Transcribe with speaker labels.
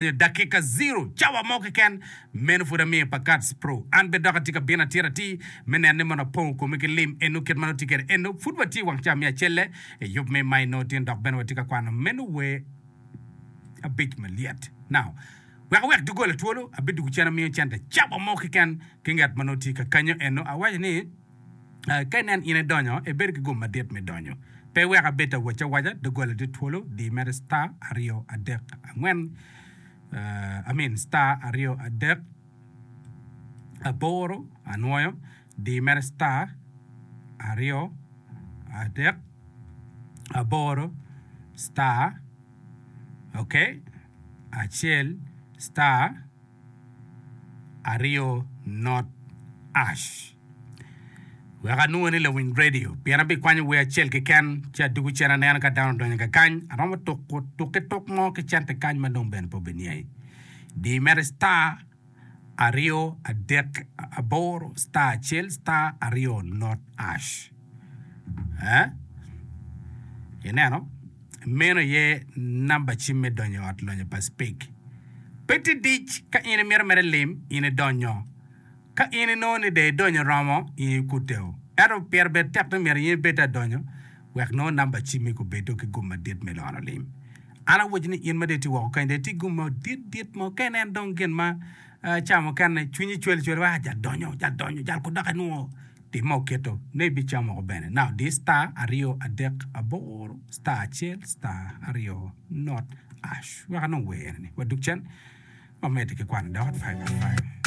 Speaker 1: Nyo dakika ziro, cawa mo keken. Meno pud amiyo pa Kats Pro. An bene dok atye ka bino atir atir me neno ni mono apongo komi ki lim eno kit ma nongo tye kwede eno. Pud watye i wang cawa me acelle i yub me ma inongo tin dok bene watye ka kwano meno wer abic malyet. Now, wek awek doggola twolo, abidwogo cen amiyo cente cawa mo keken ki ngat ma nongo tye ka kanyo eno. Awaco ni. Ka inen in idonyo, ibedo ki gum madit me donyo. Pe iwek abed awac awaca, doggola tye twolo, di mere star aryo adek angwen, I mean star aryo adek aboro anwoyo, di mere star aryo adek aboro star ok acel star. aryo not ash. Wek anwongo ni lawiny radio pien abikwanyo wer acel keken ci adugo cen aneno ka dano odonyo kakany aromo tuko tuki tuk mo ki cente kany ma dong bene pe obiniai. Di mere star aryo adek aboro star acel star aryo not ash. Eh? Ineno? Meno aye namba cim me donyo i ot lonyo pa Speke. Pe tye dic ka in imito mere lim, in idonyo. Ka in inongo ni dong idonyo romo, in ikuteo. Ento pire bed tek ni myero in ibed adonyo wek nongo namba cimmi gubedo ki gum madit me lono lim. An awaco ni in ma dong itye woko kany dong itye ki gum madit dit mo ka inen dong gin ma ca mukene cwinyi cwelo cwelo wek jal donyo, jal donyo, jal kudok inwongo. Tim ma oketo ne ibicamo woko bene. Now di star aryo adek aboro star acel star aryo not ash. Wek anong wer eni. Wadug cen wamedde ki kwano dok at 5:05.